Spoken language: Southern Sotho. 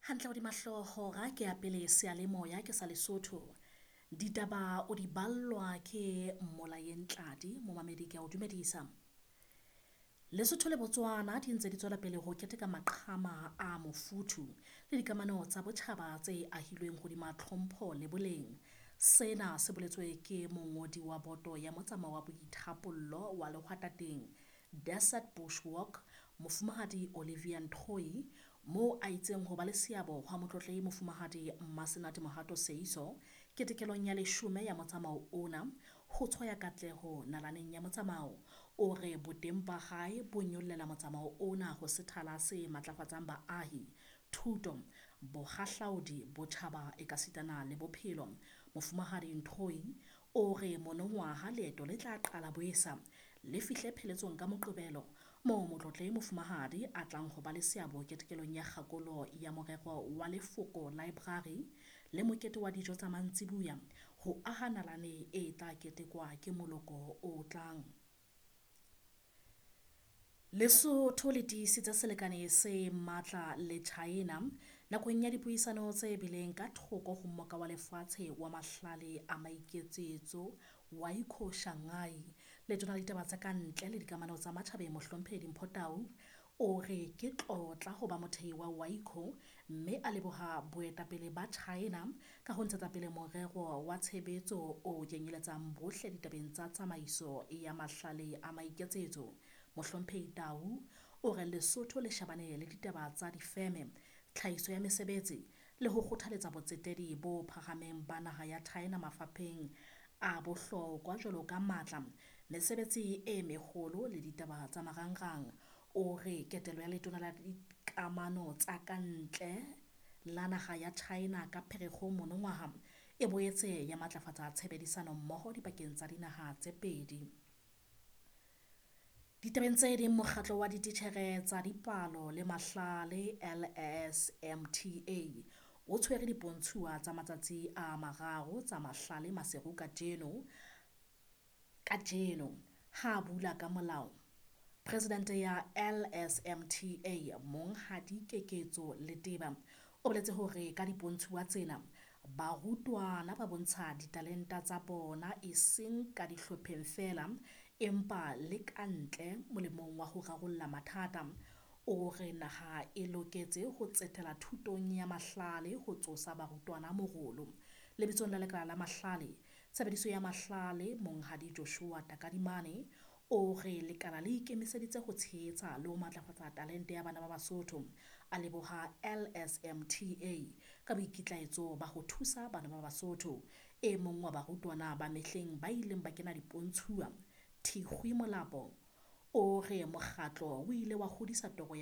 Hantle hodima hlooho hora ke ya pele seyalemoya ke sa Lesotho. Ditaba o di ballwa ke Mmolayeng Tladi, momamedi ke a o dumedisa. Lesotho le Botswana di ntse di tswela pele ho keteka maqhama a mofuthu le dikamano tsa botjhaba tse ahilweng hodima tlhompho le boleng. Sena se boletswe ke mongodi wa boto ya motsamao wa boithapollo wa lehwatateng Desert Bush Walk, Mofumahadi Olivia Ntoi, moo a itseng ho ba le seabo hwa Motlotlehi Mofumahadi Mmasenate Mohato Seeiso ketekelong ya leshome ya motsamao ona ho tshwaya katleho nalaneng ya motsamao. O re boteng ba hae bo nyollela motsamao ona ho sethala se matlafatsang baahi, thuto, bohahlaodi, botjhaba ekasitana le bophelo. Mofumahadi Ntoi o re monongwaha leeto le tla qala boesa le fihle pheletsong ka Moqebelo moo Motlotlehi Mofumahadi a tlang ho ba le seabo ketekelong ya kgakolo ya morero wa Lefoko Library le mokete wa dijo tsa mantsibuya ho aha nalane e tla ketekwa ke moloko o tlang. Lesotho le tiisitse selekane se matla le China nakong ya dipuisano tse bileng ka thoko ho Mmoka wa Lefatshe wa Mahlale a Maiketsetso WIECO Shanghai. Letona la Ditaba tsa Kantle le Dikamano tsa Matjhabeng Mohlomphehi Dimpho Tau o re ke tlotla ho ba mothehi wa WIECO mme a leboha boetapele ba China ka ho ntshetsa pele morero wa tshebetso o kenyeletsang bohle ditabeng tsa tsamaiso ya mahlale a maiketsetso. Mohlomphehi Tau o re Lesotho le shebane le ditaba tsa difeme, tlhahiso ya mesebetsi le ho kgothaletsa botsetedi bo phahameng ba naha ya China mafapheng a bohlokwa jwalo ka matla, mesebetsi e meholo le ditaba tsa marangrang. O re ketelo ya letona la dikamano tsa kantle la naha ya China ka Pherekgong monongwaha e boetse ya matlafatsa tshebedisano mmoho dipakeng tsa dinaha tse pedi. Ditabeng tse ding, mokgatlo wa dititjhere tsa dipalo le mahlale LSMTA o tshwere dipontshuwa tsa matsatsi a mararo tsa mahlale Maseru kajeno. Ha a bula ka molao, Presidente ya LSMTA Monghadi Keketso Leteba o boletse hore ka dipontshuwa tsena barutwana ba bontsha ditalente tsa bona eseng ka dihlopheng feela empa le kantle molemong wa ho rarolla mathata. O re naha e loketse ho tsetela thutong ya mahlale ho tsosa barutwana morolo. Lebitsong la lekala la mahlale, tshebediso ya mahlale Monghadi Joshua Takadimane o re lekala le ikemiseditse ho tshehetsa le ho matlafatsa talente ya bana ba Basotho. A leboha LSMTA ka boikitlaetso ba ho thusa bana ba Basotho. E mong wa barutwana ba mehleng ba ileng ba kena dipontshuwa, Thikgwi Molapo, o re mokgatlo o ile wa hodisa toro ya